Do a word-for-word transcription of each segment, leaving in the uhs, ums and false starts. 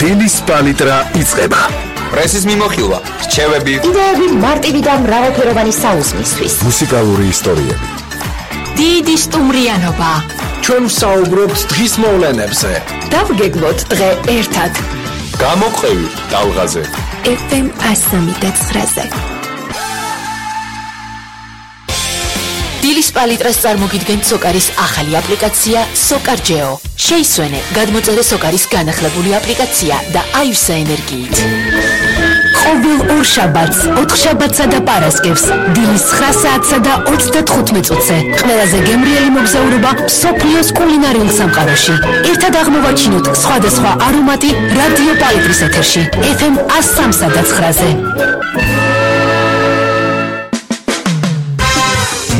დილის პალიტრა იწყება. პრესის მიმოხილვა, რჩევები, იდეები მარტივი და მრავალფეროვანი საუზმისთვის. მუსიკალური ისტორიები. დიდი სტუმრიანობა. ჩვენ ვსაუბრობთ დღის მოვლენებზე. დავგეგმოთ დღე ერთად. გამოყევი ტალღაზე. ეფ ემ ასამი და ცხრაზე. დილის პალიტრას წარმოგიდგენთ სოკარის ახალი აპლიკაცია SOCARGEO. შეისვენე, გადმოწერე სოკარის განახლებული აპლიკაცია და აივსა ენერგიით. ყოველ ორ შაბათს, ოთხ შაბათსა და პარასკევს, დილის ცხრა საათსა და ოცდათხუთმეტ წუთზე, ყველაზე გემრიელი მოგზაურობა მსოფლიოს კულინარიულ სამყაროში. ერთად აღმოვაჩინოთ სხვადასხვა არომატი რადიო პალიტრის ეთერში, ეფ ემ ასამსა და ცხრაზე.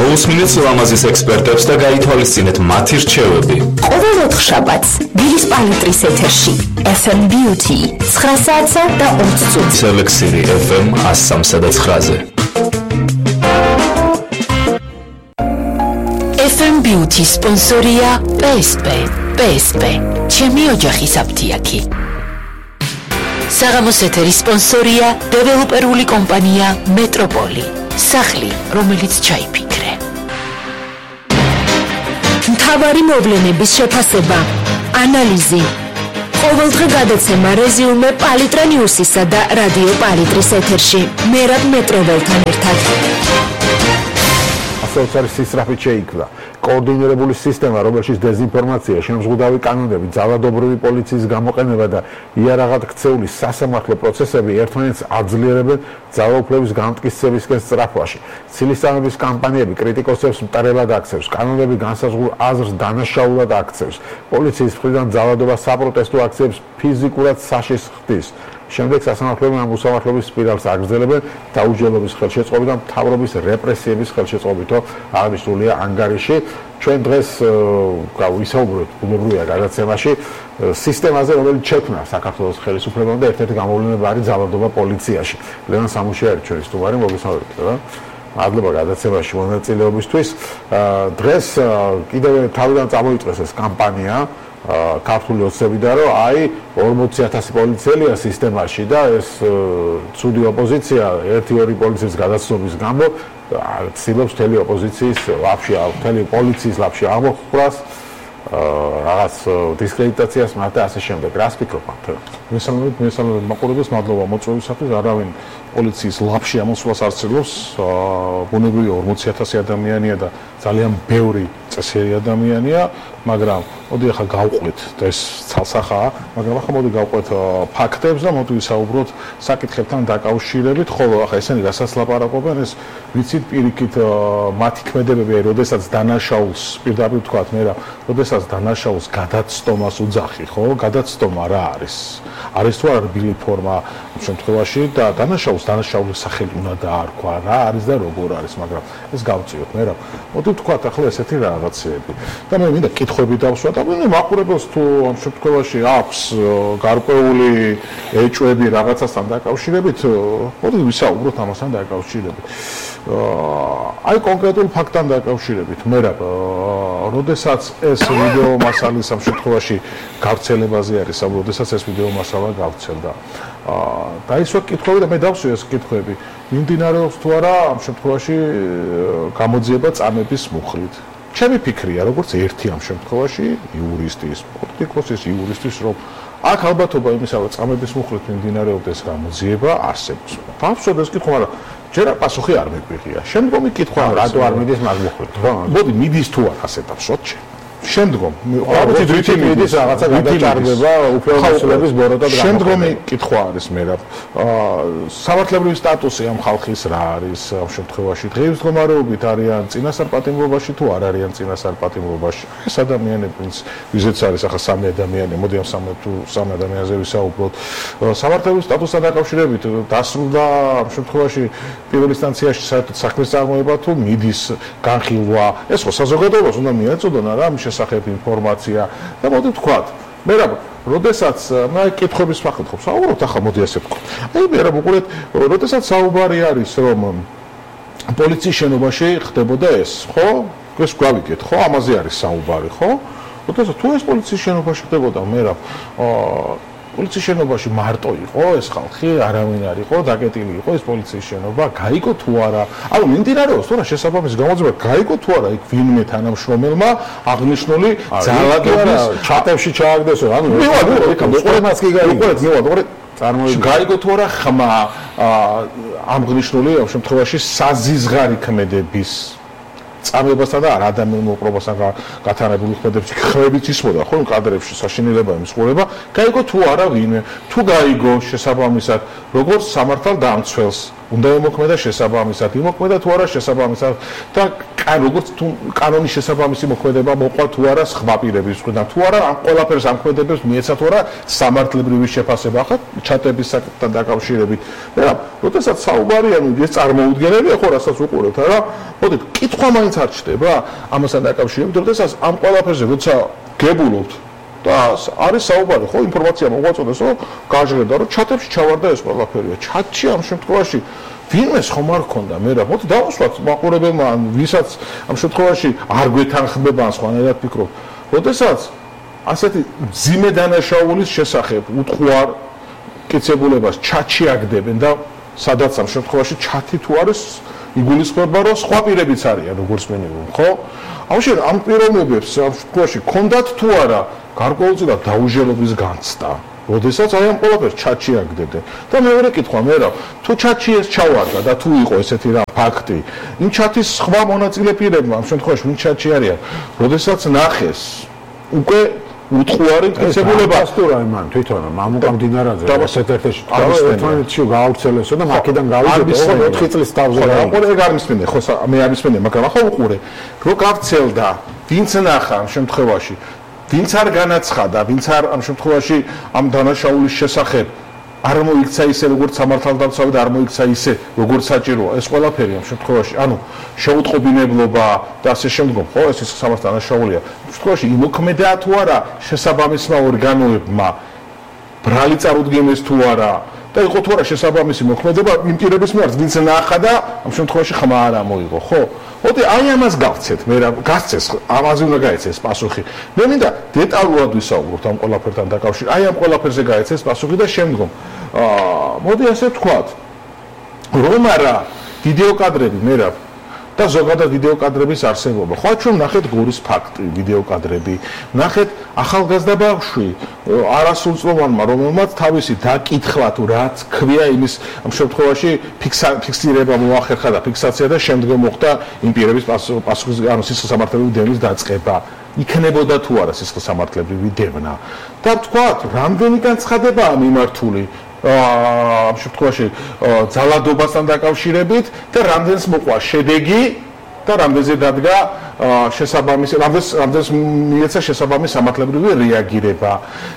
მოусმინეთ ლამაზის ექსპერტებს და გაითვალისწინეთ მათი რჩევები. ყოველ ოთხ შაბათს, დილის პალიტრის ეთერში, ეფ ემ Beauty, ცხრა საათსა და ოცდაათი წუთზე. სელექსირი ეფ ემ ასამსა და ცხრაზე. ეფ ემ Beauty სპონსორია პე ეს პე. პე ეს პე, ჩემი ოჯახის აფთიაქი. საღამოს ეთერის სპონსორია დეველოპერული კომპანია მეტროპოლი. სახლი, რომელიც ჩაიფიქრე. მთავარი მოვლენების შეფასება, ანალიზი. ყოველდღე გადაცემა რეზიუმე პალიტრა ნიუსისა და რადიო პალიტრის ეთერში. მერაბ მეტროველთან ერთად. ასეც არის სისწრაფით შეიქმნა კოორდინირებული სისტემა, რომელშიც დეზინფორმაცია, შემზღუდავი კანონები, ძალადობრივი პოლიციის გამოყენება და იარაღად ქცეული სასამართლო პროცესები ერთმანეთს აძლიერებენ ძალაუფლების განმტკიცებისკენ სწრაფვაში. ცილისწამების კამპანიები კრიტიკოსებს მტარებად აქცევს, კანონები განსაზღვრულ აზრს დანაშაულად აქცევს. პოლიციის მხრიდან ძალადობა საპროტესტო აქციებს ფიზიკურად საშიშ ხდის. შემდეგ სასამართლოები ამ უსამართლობის სპირალს აგრძელებენ დაუჯერებლობის ხელშეწყობით და მთავრობის რეპრესიების ხელშეწყობითო აღნიშნულია ანგარიში. ჩვენ დღეს ვისაუბრებთ ბუნებრივია გადაცემაში სისტემაზე, რომელიც შექმნა საქართველოს ხელისუფლებამ და ერთ-ერთი გამოვლენა არის ძალადობა პოლიციაში. ლევან სამუშია არის ჩვენი სტუმარი, მოგესალმებით. მადლობა გადაცემაში მონაწილეობისთვის. დღეს კიდევ თავიდან წამოიწყეს ეს კამპანია ქართული ოცნებიდან, რომ აი ორმოცი ათასი პოლიციელია სისტემაში და ეს ცუდი ოპოზიცია ერთი-ორი პოლიციის გადაცნობის გამო ცდილობს მთელი ოპოზიციის ლაფში, მთელი პოლიციის ლაფში აღმოხვრას, რაღაც დისკრედიტაციას მათ და ასე შემდეგ. რას ფიქრობთ? მესამედ მესამედ მაყურებელს მადლობა მოწვევისათვის. არავინ პოლიციის ლაფში ამოსვლას არ ცდილობს. ბუნებრივია ორმოცი ათასი ადამიანია და ძალიან ბევრი წესიერი ადამიანია, მაგრამ მოდი ახლა გავყვეთ და ეს ცალსახაა, მაგრამ ახლა მოდი გავყვეთ ფაქტებს და მოდი ვისაუბროთ საკითხებთან დაკავშირებით, ხოლო ახლა ესენი რასაც ლაპარაკობენ, ეს ვიცით პირიქით მათი ქმედებები, როდესაც დანაშაულს პირდაპირ ვთქვათ მე რა, როდესაც დანაშაულს გადაცტომას უძახი, ხო? გადაცტომა რა არის? არის თუ არა რბილი ფორმა ამ შემთხვევაში და დანაშაულს დანაშაულის სახელი უნდა დაარქვა, რა არის და როგორ არის, მაგრამ ეს გავწიოთ მე რა. მოდი ვთქვათ ახლა ესეთი რაღაცეები. და მე მინდა კითხვები დავსვათ, აბა მაყურებელს თუ ამ შემთხვევაში აქვს გარკვეული ეჭვები რაღაცასთან დაკავშირებით, მოდი ვისაუბროთ ამასთან დაკავშირებით. აი კონკრეტულ ფაქტთან დაკავშირებით, მე რა, როდესაც ეს ვიდეო მასალის ამ შემთხვევაში გავრცელებაზე არის, როდესაც ეს ვიდეო მასალა გავრცელდა. დაისვა კითხვები და მე დავსვი ეს კითხვები. მიმდინარეობს თუ არა ამ შემთხვევაში გამოძიება წამების მუხლით. ჩემი ფიქრია, როგორც ერთი ამ შემთხვევაში იურისტის, პოლიტიკოსის, იურისტის, რომ აქ ალბათობა იმისა, რომ წამების მუხლით მიმდინარეობდეს გამოძიება არსებობს. დავსვათ ეს კითხვა, მაგრამ ჯერ პასუხი არ მეგვიღია. შემდგომი კითხვა, რატო არ მიდის მაგ მუხლით, ხო? მოდი მიდის თუ არა ასე დავსვათ შე. შემდგომ ალბათ რითი მიდის რაღაცა გადაჭარბება უფლებამოსილების ბოროტად გამოყენება. შემდგომი კითხვა არის მე რა. სამართლებრივი სტატუსი ამ ხალხის რა არის ამ შემთხვევაში? დღეისდგომარეობით არიან წინასწარ-პატიმრობაში თუ არ არიან წინასწარ-პატიმრობაში? ეს ადამიანები, ვიზეც არის ახლა სამი ადამიანი, მოდი ამ სამი თუ სამი ადამიანზე ვისაუბროთ. სამართლებრივი სტატუსთან დაკავშირებით დასრულდა ამ შემთხვევაში პირველ ინსტანციაში საერთოდ საქმის წარმოება თუ მიდის განხილვა? ეს ხო საზოგადოებას უნდა მიეწოდონ რა ამ შესახებ ინფორმაცია და მოდი ვთქვათ, მე რა, როდესაც მე კითხების ფაქტად ხო საუბრობთ, ახლა მოდი ასე ვთქვათ. აი მე რა ვუყურეთ, როდესაც საუბარი არის, რომ პოლიციის შენობაში ხდებოდა ეს, ხო? ეს გვავიგეთ, ხო? ამაზე არის საუბარი, ხო? როდესაც თუ ეს პოლიციის შენობაში ხდებოდა, მე რა, პოლიციის შენობაში მარტო იყო ეს ხალხი, არავინ არ იყო, დაკეტილი იყო ეს პოლიციის შენობა, გაიგო თუ არა. ანუ მიმდინარეობს თუ რა შესაბამისი გამოძიება, გაიგო თუ არა იქ ვინმე თანამშრომელმა აღნიშნული ძალადობის ჩატებში ჩააგდესო, ანუ მივად, იქ მოყოლებას კი გაიგო. მივად, ორი წარმოიდგინე. გაიგო თუ არა ხმა აღნიშნული ამ შემთხვევაში საზიზღარი ქმედების წამებასთან და არ ადამიანურ მოპყრობასთან გათანებული ქმედების ხმებით ისმოდა ხო კადრებში საშინელება იმსხურება გაიგო თუ არა ვინმე თუ გაიგო შესაბამისად როგორც სამართალ დამცველს უნდა ემოქმედა შესაბამისად იმოქმედა თუ არა შესაბამისად და როგორც თუ კანონის შესაბამისი მოქმედება მოყვა თუ არა სხვა პირების მხრიდან თუ არა ამ ყველაფერს ამქმედებებს მიეცა თუ არა სამართლებრივი შეფასება ახლა ჩატების საკითხთან დაკავშირებით მაგრამ როდესაც საუბარია ეს წარმოუდგენელია ხო რასაც უყურებთ არა მოდით კითხვა მაინც არ ჩდება ამასთან დაკავშირებით როდესაც ამ ყველაფერზე როცა გებულობთ და არის საუბარი ხო ინფორმაცია მოგვაწოდეს რომ გაჟღერდა რომ ჩატებში ჩავარდა ეს ყველაფერია ჩატში ამ შემთხვევაში ვინმეს ხომ არ ქონდა მე რა მოდი დავუსვათ მაყურებელმა ან ვისაც ამ შემთხვევაში არ გვეთანხმება ან სხვანაირად ფიქრობ როდესაც ასეთი ძიმე დანაშაულის შესახებ უთხოვარ კიცებულებას ჩატში აგდებენ და სადაც ამ შემთხვევაში ჩატი თუ არის იგულისხმება რომ სხვა პირებიც არიან როგორც მინიმუმ ხო ამაში ამ პიროვნებებს ამ შემთხვევაში ქონდათ თუ არა გარკვეულწილად დაუჟელობის განცდა როდესაც აი ამ ყველაფერს ჩატში აგდებენ და მეორე კითხვა მე რა თუ ჩატში ეს ჩავარდა და თუ იყო ესეთი რა ფაქტი იმ ჩატის სხვა მონაწილე პირებმა ამ შემთხვევაში ვინ ჩატში არიან როდესაც ნახეს უკვე უთხოვარი მტკიცებულება ასტურა იმან თვითონ მამუკა მდინარაძე ერთ-ერთში ერთმანეთში გაავრცელესო და მაქედან გავიდო ოთხი წლის თავზე რა იყო ეგ არ მისმენე ხო მე არ მისმენე მაგრამ ახლა უყურე რო გავცელდა ვინც ნახა ამ შემთხვევაში ვინც არ განაცხადა ვინც არ ამ შემთხვევაში ამ დანაშაულის შესახებ არ მოიქცა ისე როგორც სამართალდამცავი და არ მოიქცა ისე როგორც საჭიროა ეს ყველაფერი ამ შემთხვევაში ანუ შეუტყობინებლობა და ასე შემდგომ ხო ეს ის სამართალ დანაშაულია ამ შემთხვევაში იმოქმედა თუ არა შესაბამისმა ორგანოებმა ბრალი წარუდგენეს თუ არა და იყო თუ არა შესაბამისი მოქმედება იმ პირების მიერ ვინც ნახა და ამ შემთხვევაში ხმა არ ამოიღო ხო მოდი აი ამას გავცეთ მე რა გასცეს ამაზე უნდა გაეცეს პასუხი მე მინდა დეტალურად ვისაუბროთ ამ ყველაფერთან დაკავშირებით აი ამ ყველაფერზე გაეცეს პასუხი და შემდგომ აა მოდი ასე ვთქვათ რომ არა ვიდეო კადრები მე რა და ზოგადად ვიდეო კადრების არსებობა ხო ჩვენ ნახეთ გორის ფაქტი ვიდეო კადრები ნახეთ ახალგაზრდა ბავშვი არასრულწლოვანმა რომელმაც თავისი დაკითხვა თუ რაც ქვია იმის ამ შემთხვევაში ფიქსირება მოახერხა და ფიქსაცია და შემდგომ მოხდა იმ პირების პასუხის ანუ სისხლსამართლებრივი დევნის დაწყება იქნებოდა თუ არა სისხლსამართლებრივი დევნა და ვთქვათ რამდენი განცხადებაა მიმართული ამ შემთხვევაში ძალადობასთან დაკავშირებით და რამდენს მოყვა შედეგი და რამდენზე დადგა შესაბამისი რამდენს რამდენს მიეცა შესაბამისი სამართლებრივი რეაგირება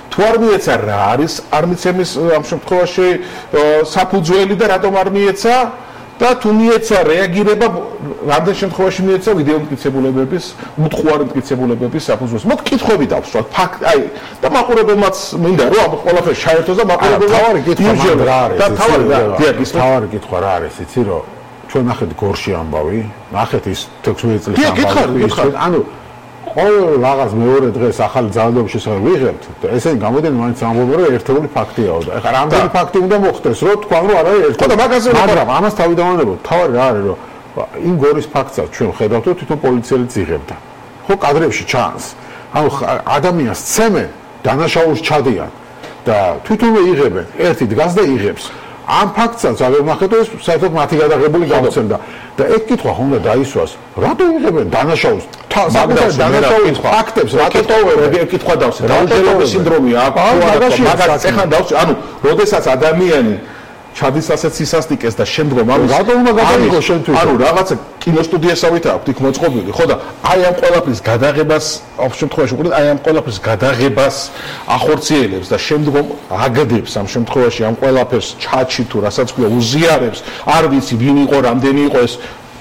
თუ არ მიეცა რა არის არ მიცემის ამ შემთხვევაში საფუძველი და რატომ არ მიეცა და თუ მიეცა რეაგირება რამდენ შემთხვევაში მიეცა ვიდეო მტკიცებულებების უთხოვარი მტკიცებულებების საფუძველს მოდ კითხვები დავსვათ ფაქტ აი და მაყურებელმაც მინდა რომ ამ ყველაფერს ჩაერთოს და მაყურებელმა თავარი კითხვა რა არის და თავარი რა ის თავარი კითხვა რა არის იცი რომ ჩვენ ნახეთ გორში ამბავი ნახეთ ის თექვსმეტ წლის ამბავი ანუ ყოველ რაღაც მეორე დღეს ახალი ძალადობის შესახებ ვიღებთ და ესენი გამოდენ მაინც ამბობენ რომ ერთეული ფაქტიაო და ეხლა რამდენი ფაქტი უნდა მოხდეს რომ თქვა რომ არ არის ერთეული და მაგაზე მაგრამ ამას თავი დავანებოთ თავი რა არის რომ იმ გორის ფაქტსაც ჩვენ ხედავთ რომ თვითონ პოლიციელიც იღებდა ხო კადრებში ჩანს ანუ ადამიანს ცემენ დანაშაულს ჩადიან და თვითონვე იღებენ ერთი დგას და იღებს ამ ფაქტსაც აღარ ნახეთ ეს საერთოდ მათი გადაღებული გამოცემდა და ეგ კითხვა ხომ უნდა დაისვას რატო იღებენ დანაშაულს დანაშაულის ფაქტებს რატო ეგ კითხვა დავსე დაუჟელობის სინდრომი აქვს მაგას ეხან დავსე ანუ როდესაც ადამიანი ჩადის ასეთ სისასტიკეს და შემდგომ ამის რატო უნდა გადაიღო შენ თვითონ ანუ რაღაცა კინოსტუდიასავით აქვს იქ მოწყობილი ხო და აი ამ ყველაფრის გადაღებას ამ შემთხვევაში უყურეთ აი ამ ყველაფრის გადაღებას ახორციელებს და შემდგომ აგდებს ამ შემთხვევაში ამ ყველაფერს ჩატში თუ რასაც ქვია უზიარებს არ ვიცი ვინ იყო რამდენი იყო ეს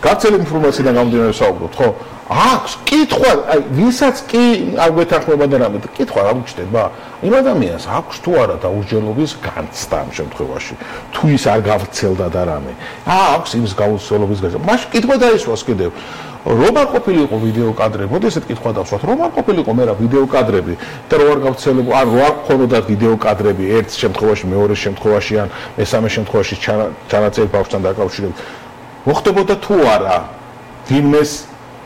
გაცელი ინფორმაციიდან გამომდინარე საუბრობთ ხო აქვს კითხვა, აი ვისაც კი არ გვეთანხმება და რამე, კითხვა რა უჩნდება? იმ ადამიანს აქვს თუ არა დაუსჯელობის განცდა ამ შემთხვევაში. თუ ის არ გავრცელდა და რამე. აა აქვს იმის გავრცელობის განცდა. მაშინ კითხვა დაისვას კიდევ. რომ არ ყოფილიყო ვიდეო კადრები, მოდი ესეთ კითხვა დავსვათ, რომ არ ყოფილიყო მე რა ვიდეო კადრები და რო არ გავრცელებო, ან რო არ ხონოდა ვიდეო კადრები ერთ შემთხვევაში, მეორე შემთხვევაში ან მესამე შემთხვევაში ჩანაწერი ბავშვთან დაკავშირებით. მოხდებოდა თუ არა ვინმეს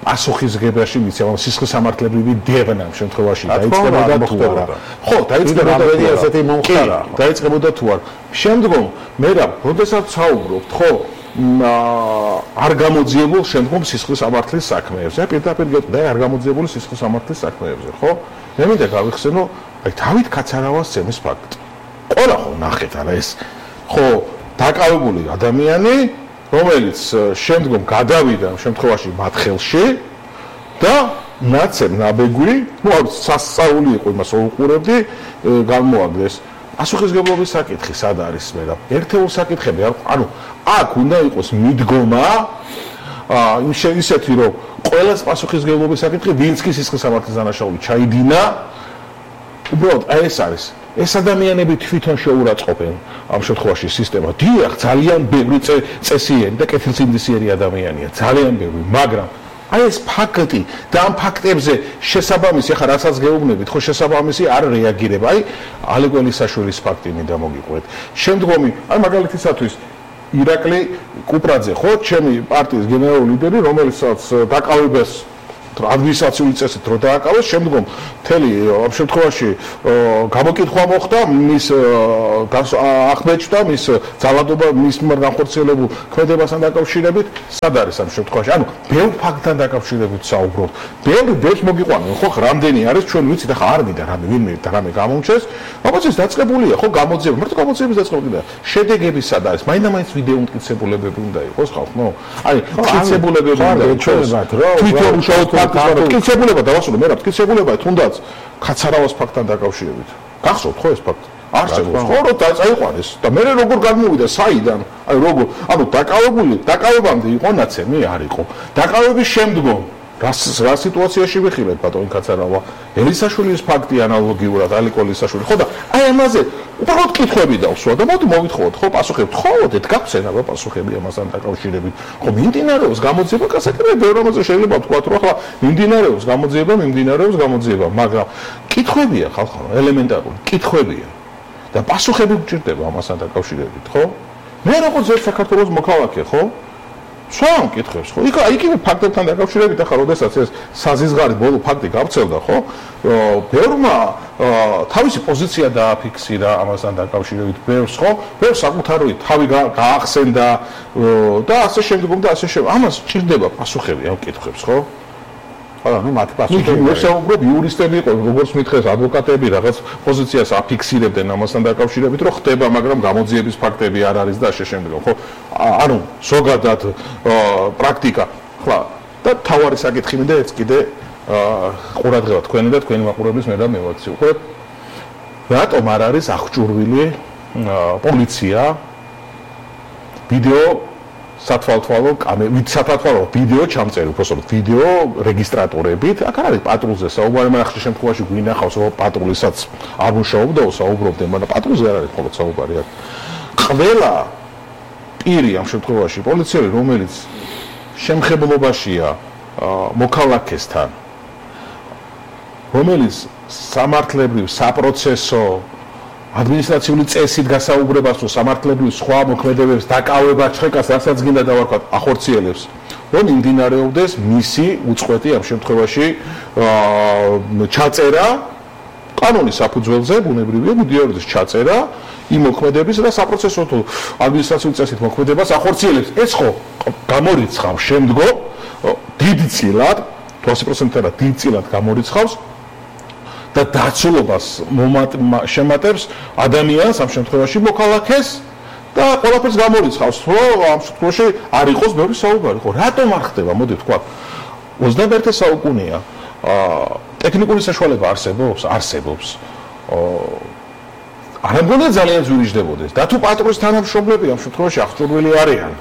პასუხისგებაში მიცემა სისხლის სამართლებრივი დევნა ამ შემთხვევაში დაიწყებოდა თუ არა. ხო, დაიწყებოდა ესეთი მომხდარა. დაიწყებოდა თუ არა. შემდგომ მე რა, როდესაც საუბრობთ, ხო, არ გამოძიებულ შემდგომ სისხლის სამართლის საქმეებზე. პირდაპირ გეტყვი, არ გამოძიებული სისხლის სამართლის საქმეებზე, ხო? მე მინდა გავიხსენო, აი დავით კაცარავას ცემის ფაქტი. ყველა ხო ნახეთ არა ეს. ხო, დაკავებული ადამიანი რომელიც შემდგომ გადავიდა ამ შემთხვევაში მათ ხელში და ნაცემ ნაბეგვი, ну, სასწაული იყო იმას უყურებდი, გამოაგდეს. პასუხისგებლობის საკითხი სად არის მე რა? ერთეულ საკითხები არ, ანუ აქ უნდა იყოს მიდგომა, აა ისეთი რომ ყველას პასუხისგებლობის საკითხი ვინც კი სისხლის სამართლის დანაშაული ჩაიდინა, უბრალოდ აი ეს არის. ეს ადამიანები თვითონ შეურაცხყოფენ ამ შემთხვევაში სისტემა. დიახ, ძალიან ბევრი წესიერი და კეთილსინდისიერი ადამიანია, ძალიან ბევრი, მაგრამ აი ეს ფაქტი და ამ ფაქტებზე შესაბამისი, ახლა რასაც გეუბნებით, ხო შესაბამისი არ რეაგირება. აი ალეგველისაშვილის ფაქტი მინდა მოგიყვეთ. შემდგომი, აი მაგალითისათვის ირაკლი კუპრაძე, ხო, ჩემი პარტიის გენერალური ლიდერი, რომელსაც დაკავებას ადმინისტრაციული წესით რო დააკავეს, შემდგომ მთელი ამ შემთხვევაში გამოკითხვა მოხდა მის ახმეჭდა მის ძალადობა მის მიმართ განხორციელებულ ქმედებასთან დაკავშირებით, სად არის ამ შემთხვევაში? ანუ ბევრ ფაქტთან დაკავშირებით საუბრობთ. ბევრი ბევრს მოგიყვანენ, ხო, რამდენი არის ჩვენ ვიცით, ახლა არ მინდა რამე ვინმე და რამე გამომჩეს, բայց ეს დაწყებულია, ხო, გამოძიება, მარტო გამოძიების დაწყებულია. შედეგები სად არის? მაინდა-მაინც ვიდეო მტკიცებულებები უნდა იყოს ხალხო. აი, მტკიცებულებები უნდა ჩვენებათ, რა, თვითონ უშუალოდ მტკიცებულება დავასრულე, მე რა მტკიცებულება თუნდაც კაცარავას ფაქტთან დაკავშირებით. გახსოვთ ხო ეს ფაქტი? არსებობს, ხო, რომ წაიყვანეს და მე როგორ გამოვიდა საიდან? აი როგორ, ანუ დაკავებული, დაკავებამდე იყო ნაცემი, არ იყო. დაკავების შემდგომ რა რა სიტუაციაში ვიხილეთ ბატონი კაცარავა? ელისაშვილის ფაქტი ანალოგიურად, ალიკო ელისაშვილი, ხო და აი ამაზე უბრალოდ კითხვები დავსვა და მოდი მოვითხოთ, ხო, პასუხები. ხო, დგავსენა რა პასუხები ამასთან დაკავშირებით. ხო, მიმდინარეობს გამოძიება, კასაკრები ბევრ რამაზე შეიძლება ვთქვათ, რომ ახლა მიმდინარეობს გამოძიება, მიმდინარეობს გამოძიება, მაგრამ კითხვებია ხალხო, ელემენტარული კითხვებია. და პასუხები გჭირდება ამასთან დაკავშირებით, ხო? მე როგორც ერთ საქართველოს მოქალაქე, ხო? სვამ კითხებს, ხო? იქ იგივე ფაქტებთან დაკავშირებით, ახლა როდესაც ეს საზიზღარი ბოლო ფაქტი გავრცელდა, ხო? ბევრმა თავისი პოზიცია დააფიქსირა ამასთან დაკავშირებით, ბევრს, ხო? ბევრს საკუთარი თავი გაახსენდა და ასე შემდგომ და ასე შემდგომ. ამას ჭირდება პასუხები ამ კითხებს, ხო? არა, ну მათი პასუხები. მე საუბრობ იურისტები იყო, როგორც მითხეს ადვოკატები, რაღაც პოზიციას აფიქსირებდნენ ამასთან დაკავშირებით, რომ ხდება, მაგრამ გამოძიების ფაქტები არ არის და ასე შემდგომ, ხო? ანუ ზოგადად პრაქტიკა, ხლა და თავარი საკითხი მინდა ეს კიდე ყურადღება თქვენი და თქვენი მაყურებლის მე რა მევაქცი. ხო? რატომ არ არის აღჭურვილი პოლიცია ვიდეო სათვალთვალო კამერა, სათვალთვალო ვიდეო ჩამწერი, უბრალოდ ვიდეო რეგისტრატორებით, აქ არის პატრულზე საუბარი, მაგრამ ახლა შემთხვევაში გვინახავს, რომ პატრულისაც არ მუშაობდა, საუბრობდნენ, მაგრამ პატრულზე არ არის მხოლოდ საუბარი აქ. ყველა პირი ამ შემთხვევაში პოლიციელი, რომელიც შემხებლობაშია მოქალაქესთან, რომელიც სამართლებრივ, საპროცესო ადმინისტრაციული წესით გასაუბრებას თუ სამართლებრივ სხვა მოქმედებებს დაკავებას ჩხეკას, რასაც გინდა დავარქვათ, ახორციელებს, რომ იმდინარეობდეს მისი უწყვეტი ამ შემთხვევაში ჩაწერა კანონის საფუძველზე, ბუნებრივია, მიდიაროდეს ჩაწერა იმ მოქმედების და საპროცესო თუ ადმინისტრაციული წესით მოქმედებას ახორციელებს. ეს ხო გამორიცხავს შემდგომ დიდწილად, ოცი პროცენტად დიდწილად გამორიცხავს და დაცულობას შემატებს ადამიანს ამ შემთხვევაში მოქალაქეს და ყველაფერს გამორიცხავს, რომ ამ შემთხვევაში არ იყოს ბევრი საუბარი. ხო, რატომ არ ხდება? მოდი ვთქვა. ოცდამეერთე საუკუნეა. ტექნიკური საშუალება არსებობს, არსებობს. არ მგონია ძალიან ძვირიждდებოდეს. და თუ პატრულის თანამშრომლები ამ შემთხვევაში აღჭურვილი არიან,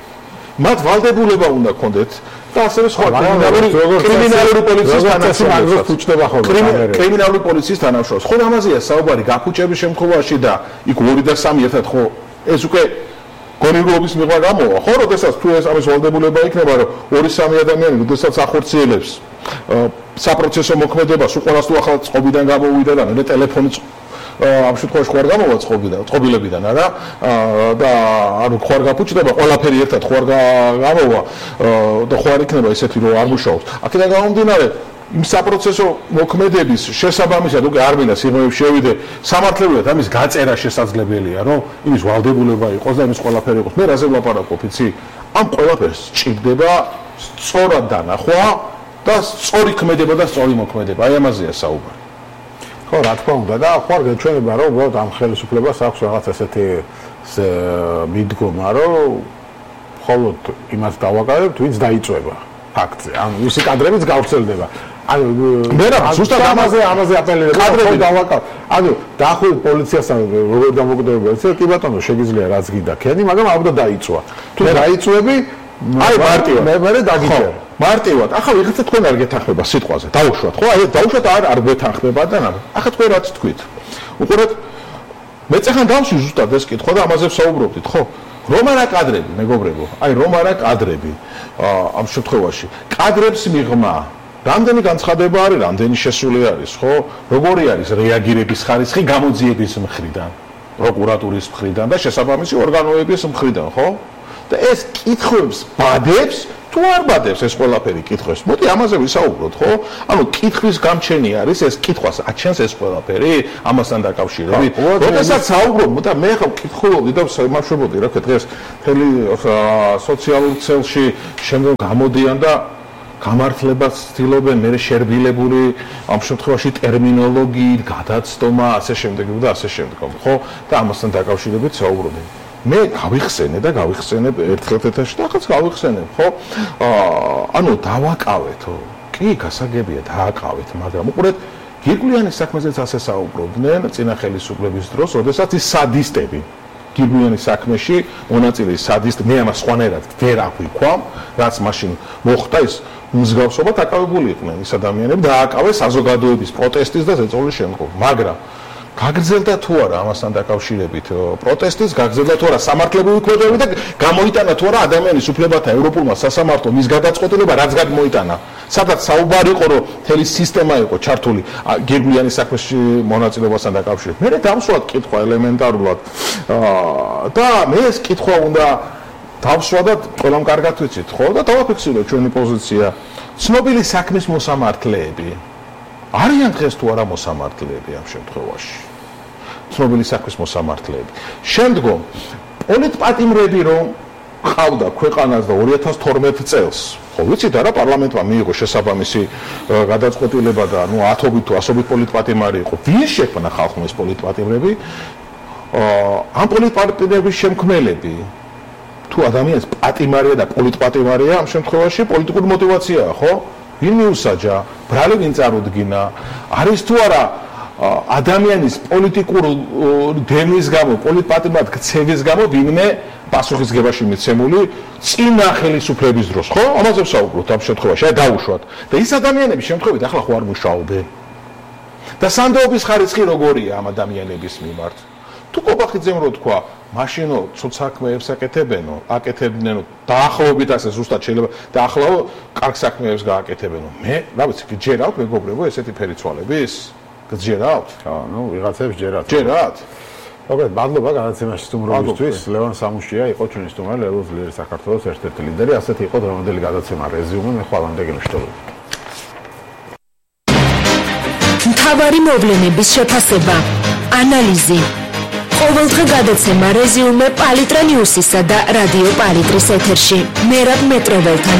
მათ ვალდებულება უნდა ქონდეთ და ასევე სხვა კრიმინალური კრიმინალური პოლიციის თანამშრომლებს უჩნდება ხოლმე კრიმინალური პოლიციის თანამშრომლებს. ხო ამაზეა საუბარი გაფუჭების შემთხვევაში და იქ ორი და სამი ერთად ხო ეს უკვე გონივრობის მიღმა გამოვა. ხო, როდესაც თუ ეს ამის ვალდებულება იქნება, რომ ორი სამი ადამიანი, როდესაც ახორციელებს საპროცესო მოქმედებას, უყურას თუ ახლა წყობიდან გამოვიდა და მე ტელეფონი ამ შემთხვევაში ხوار გამოვა წყობიდან, წყობილებიდან, არა? და ანუ ხوار გაფუჭდება, ყველაფერი ერთად ხوار გამოვა და ხوار იქნება ესეთი, რომ არ მუშაობს. აქედან გამომდინარე იმ საპროცესო მოქმედების შესაბამისად უკვე არ მინდა სიღრმეებში შევიდე სამართლებრივად ამის გაწერა შესაძლებელია რომ იმის ვალდებულება იყოს და იმის ყველაფერი იყოს მე რაზე ვლაპარაკობ იცი ამ ყველაფერს ჭირდება სწორად დანახვა და სწორი ქმედება და სწორი მოქმედება აი ამაზეა საუბარი ხო რა თქმა უნდა და ხوار გეჩვენება რომ უბრალოდ ამ ხელისუფლებას აქვს რაღაც ესეთი მიდგომა რომ მხოლოდ იმას დავაკარებთ ვინც დაიწვება ფაქტზე ანუ ვისი კადრებიც გავრცელდება ანუ მე რა ზუსტად ამაზე ამაზე აპელირებ კადრები დავაკავ ანუ დაახლოებით პოლიციასთან როგორ დამოკიდებულა ეს კი ბატონო შეგიძლია რაც გინდა ქენი მაგრამ აუდა დაიწვა თუ დაიწვები აი მარტივად მე მე დაგიჭერ მარტივად ახლა ვიღაცა თქვენ არ გეთანხმება სიტყვაზე დაუშვათ ხო აი დაუშვათ არ არ გეთანხმება და რა ახლა თქვენ რაც თქვით უყურეთ მე წახან დავში ზუსტად ეს კითხვა და ამაზე ვსაუბრობდით ხო რომ არა კადრები მეგობრებო აი რომ არა კადრები ამ შემთხვევაში კადრებს მიღმა რამდენი განცხადება არის რამდენი შესული არის ხო როგორი არის რეაგირების ხარისხი გამოძიების მხრიდან პროკურატურის მხრიდან და შესაბამისი ორგანოების მხრიდან ხო და ეს კითხვებს ბადებს თუ არ ბადებს ეს ყველაფერი კითხვებს მოდი ამაზე ვისაუბროთ ხო ანუ კითხვის გამჩენი არის ეს კითხვას აჩენს ეს ყველაფერი ამასთან დაკავშირებით როდესაც საუბრობ და მე ხა ვკითხულობდი და ვიმარშვებოდი რა ქვია დღეს მთელი სოციალურ ქსელში შემდგომ გამოდიან და გამართლებას ცდილობენ მე შერბილებული ამ შემთხვევაში ტერმინოლოგიით გადაცდომა ასე შემდეგ და ასე შემდეგ ხო და ამასთან დაკავშირებით საუბრობენ მე გავიხსენე და გავიხსენებ ერთხელ ეთერში და ახაც გავიხსენებ ხო ანუ დავაკავეთო კი გასაგებია დააკავეთ მაგრამ უყურეთ გირგვლიანის საქმეზეც ასე საუბრობდნენ წინა ხელისუფლების დროს როდესაც ის სადისტები გირგვლიანის საქმეში მონაწილე სადისტ მე ამას სხვანაირად ვერ აღვიქვამ რაც მაშინ მოხდა ის მსგავსობა დაკავებული იყვნენ ის ადამიანები და ააკავეს საზოგადოების პროტესტის და ზეწოლის შემდგომ მაგრამ გაგრძელდა თუ არა ამასთან დაკავშირებით პროტესტის გაგრძელდა თუ არა სამართლებრივი ქმედებები და გამოიტანა თუ არა ადამიანის უფლებათა ევროპულმა სასამართლომ ის გადაწყვეტილება რაც გამოიტანა სადაც საუბარი იყო რომ მთელი სისტემა იყო ჩართული გირგვლიანის საქმეში მონაწილეობასთან დაკავშირებით მე დავსვათ კითხვა ელემენტარულად და მე ეს კითხვა უნდა დავსვათ ყველამ კარგად ვიცით ხო და დავაფიქსიროთ ჩვენი პოზიცია ცნობილი საქმის მოსამართლეები არიან დღეს თუ არა მოსამართლეები ამ შემთხვევაში ცნობილი საქმის მოსამართლეები შემდგომ პოლიტპატიმრები რომ ყავდა ქვეყანას და ორი ათას თორმეტ წელს ხო ვიცით არა პარლამენტმა მიიღო შესაბამისი გადაწყვეტილება და ნუ ათობით თუ ასობით პოლიტპატიმარი იყო ვინ შექმნა ხალხმა ეს პოლიტპატიმრები ამ პოლიტპატიმრების შემქმნელები თუ ადამიანის პატიმარია და პოლიტპატიმარია ამ შემთხვევაში პოლიტიკური мотиваციაა ხო ვინ მიუსაჯა ბრალი ვინ წარუდგინა არის თუ არა ადამიანის პოლიტიკურ დემის გამო პოლიტპატიმრად ქცევის გამო ვინმე პასუხისგებაში მიცემული წინა ხელისუფლების დროს ხო ამაზე ვსაუბრობთ ამ შემთხვევაში აი დაუშვათ და ის ადამიანების შემთხვევით ახლა ხო არ მუშაობენ და სანდოობის ხარისხი როგორია ამ ადამიანების მიმართ თუ კობახიძემ რო თქვა მაშინო ცოტ საქმეებს აკეთებენო აკეთებდნენო დაახლოებით ასე ზუსტად შეიძლება დაახლოებით კარგ საქმეებს გააკეთებენო მე რა ვიცი გჯერავთ მეგობრებო ესეთი ფერიცვალების გჯერავთ ნუ ვიღაცებს ჯერათ ჯერათ მოგეთ მადლობა განაცემაში სტუმრობისთვის ლევან სამუშია იყო ჩვენი სტუმარი ლევან ძლიერი საქართველოს ერთ-ერთი ლიდერი ასეთი იყო დღევანდელი გადაცემა რეზიუმე მე ხვალამდე გემშვიდობები მთავარი მოვლენების შეფასება ანალიზი ყოველდღე გადაცემა რეზიუმე პალიტრა ნიუსისა და რადიო პალიტრის ეთერში მერაბ მეტროველთან